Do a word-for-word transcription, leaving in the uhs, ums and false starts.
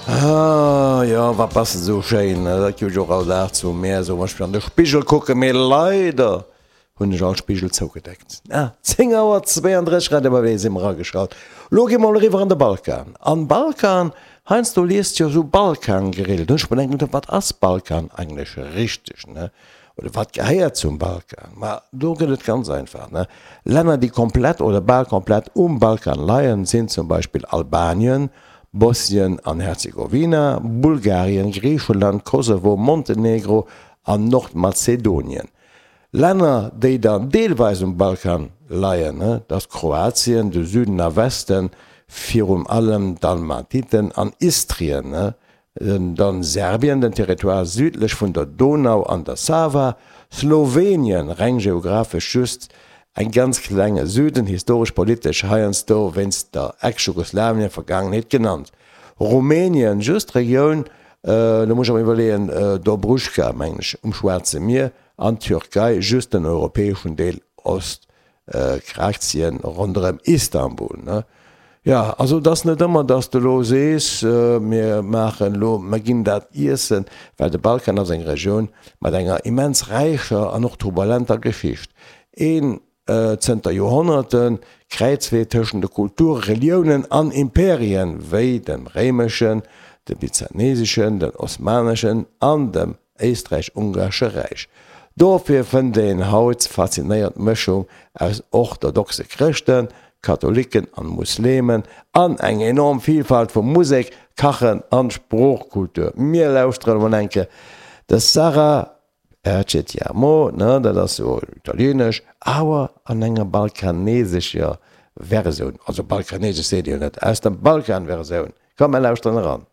Ah, jo, wat bass de sou schéin, dat gi ech och all Dag zu mär soen, wann ech mech an de Spigel kucken, mee leider hunn ech all Spigel zougedeckt. Ah, zéng Auer zweeëndrësseg, Radio M W si mer ageschalt. Lo gi mer mol eriwwer an de Balkan. An Balkan, heiansdo liest jo sou Balkangrill, do hunn ech mer denken, wat ass Balkan eigentlech richteg, ne? Oder wat gehéiert zum Balkan? Ma do gëtt et ganz einfach, ne? Länner, déi komplett oder bal komplett um Balkan leien, sinn zum Beispill Albanien, Bosnien an Herzegowina, Bulgarien, Griicheland, Kosovo, Montenegro an Nordmazedonien. Länner, déi dann deelweis um Balkan leien, dat ass Kroatien, de Süden a Westen, virum allem Dalmatiten an Istrien, dann Serbien, den Territoire südlech vun der Donau an der Sava, Slowenien, reng geographesch just eng ganz klenge Süden, historesch-politesch heiansdo wéinst der Ex-Jugoslawien-Vergaangenheet genannt, Rumänien, just d'Regioun, lo muss ech awer iwwerleeën, Dobruschka, mengen ech, um Schwaarze Mier, an d'Türkei, just den europäeschen Deel, Ostkrakien ronderëm Istanbul. Jo, also et ass net ëmmer, datt s de elo sees, mir maachen elo, mir ginn dat iessen, well de Balkan ass eng Regioun mat enger immens räicher an och turbulenter Geschicht. Een zënter Joerhonnerte Kräizwee tëschent de Kulture, Reliounen an Imperien, wéi dem réimeschen, dem byzanteschen, dem osmaneschen an dem Éisträich-Ungaresche Räich. Dofir fënnt een haut faszinéierend Mëschung aus orthodoxe Chrëschten, Katholiken an Muslemen an eng enorm Vielfalt vu Musek, Kachen an Sproochkultur. Mir lauschteren emol enke de Sarah Percetiamo, ne, dat ass jo italieenesch, awer an enger balkanesescher Versioun, also balkanesesch seet ee jo net, aus der Balkan-Versioun. Komm, mer lauschteren eran.